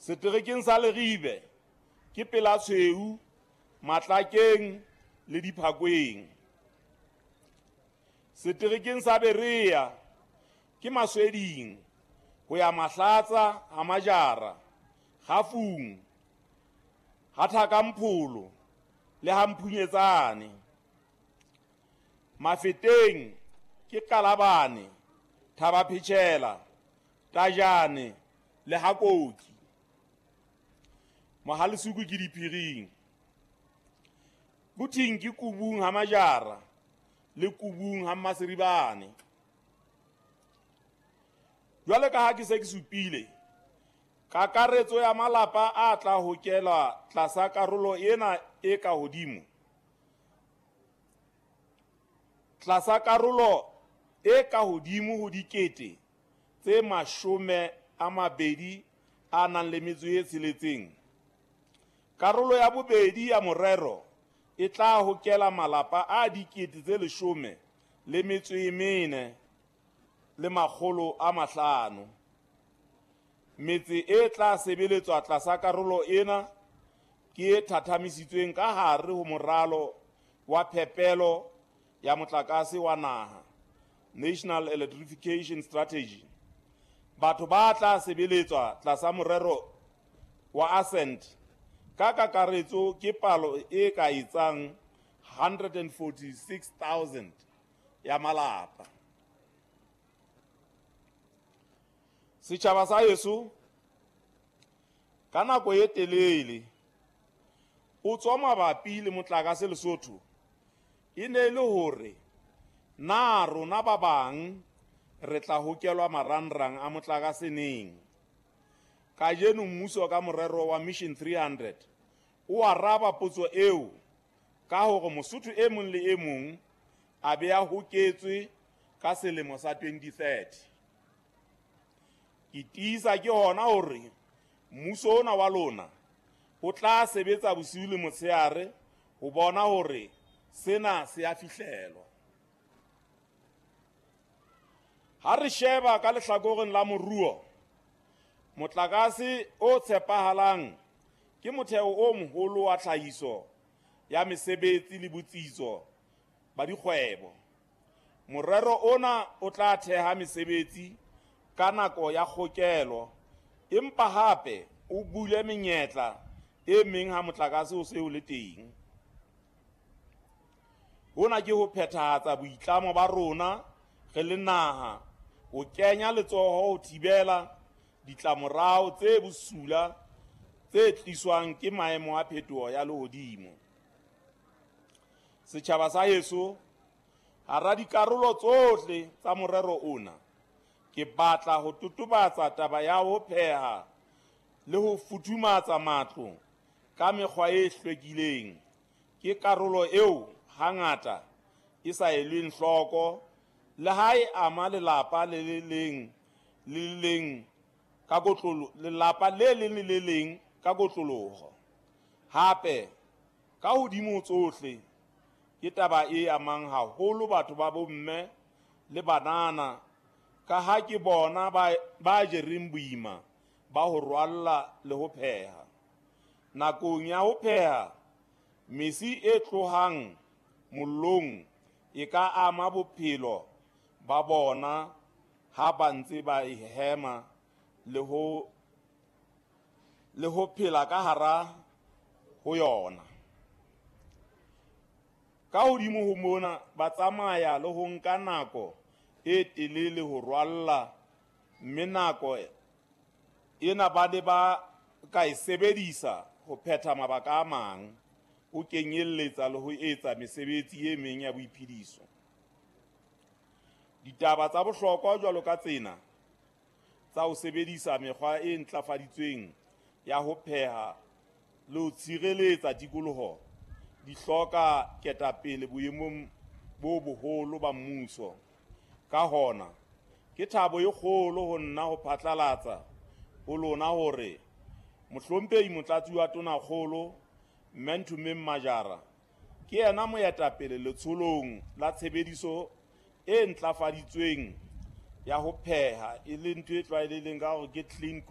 Seterekeng sa Leribe ke Pelatshweu, Matlakeng le Diphakweng. Seterekeng sa Berea ke Masweding ho ya Mahlatsa ha Majara, Gafung, ha Thakampholo le ha Mphunyetsane. Mafeteng ke Kalabane, Thabaphetshela, Tajane le ha Koki. Mohalesuku ke Diphiring. Kuthing ke Kubung ha Majara le Kubung ha Mmaseribane. Jwale ka ha ke se ke supile, kakaretso ya malapa a tla hokelwa tlasa karolo ena e ka hodimo. Tlasa karolo e ka hodimo ho 26,000. Karolo ya bobedi ya morero e tla hokela malapa a 14,500. Metse e tla sebeletswa tlasa karolo ena ke e thathamisitsweng ka hare ho moralo wa phepelo ya motlakase wa naha, National Electrification Strategy. Batho ba tla sebeletswa tlasa morero wa ASCEND ka kakaretso ke palo e ka etsang 146,000 ya malapa. Setjhaba sa heso, ka nako e telele o tswa mabapi le motlakase Lesotho e ne le hore na rona ba bang re tla hokelwa marangrang a motlakase neng. Kajeno mmuso ka morero wa Mission 300 o araba potso eo ka hore Mosotho e mong le e mong a be a hoketswe ka selemo sa 2030. Ke tiisa ke hona hore mmuso ona wa lona o tla sebetsa bosiu le motshehare ho bona hore sena se a fihlelwa. Ha re sheba ka lehlakoreng la moruo, motlakase o tshepahalang ke motheo o moholo wa tlhahiso ya mesebetsi le botsitso ba dikgwebo. Morero ona o tla theha mesebetsi ka nako ya kgokelo, empa hape o bule menyetla e meng ha motlakase o se o le teng. Hona ke ho phethahatsa boitlamo ba rona re le naha ho kenya letsoho ho thibela ditlamorao tse bosula tse tliswang ke maemo a phetoho ya lehodimo. Setjhaba sa heso, hara dikarolo tsohle tsa morero ona, ke batla ho totobatsa taba ya ho pheha le ho futhumatsa matlo ka mekgwa e hlwekileng. Ke karolo eo hangata e sa elweng hloko le ha e ama lelapa le leng le le leng ka kotlolo, lelapa le leng le le leng ka kotloloho. Hape, ka hodimo tsohle, ke taba e amang haholo batho ba bomme le banana, ka ha ke bona ba jereng boima ba ho rwalla le ho pheha. Nakong ya ho pheha, mesi e tlohang mollong e ka ama bophelo ba bona ha ba ntse ba e hema le ho phela ka hara ho yona. Ka hodimo ho mona, ba tsamaya le ho nka nako e telele ho rwalla, mme nako ena ba ne ba ka e sebedisa ho phetha mabaka a mang, ho kenyelletsa le ho etsa mesebetsi e meng ya boiphediso. Ditaba tsa bohlokwa jwalo ka tsena tsa ho sebedisa mekgwa e ntlafaditsweng ya ho pheha le ho tshireletsa tikoloho di hloka ketapele boemong bo boholo ba mmuso. Ka hona, ke thabo e kgolo ho nna ho phatlalatsa ho lona hore Mohlomphehi Motlatsi wa Tonakgolo Mme Nthomeng Majara ke yena moetapele letsholong la tshebediso e ntlafaditsweng ya ho pheha, e leng ntho e tlwaelehileng ka hore ke clean cooking.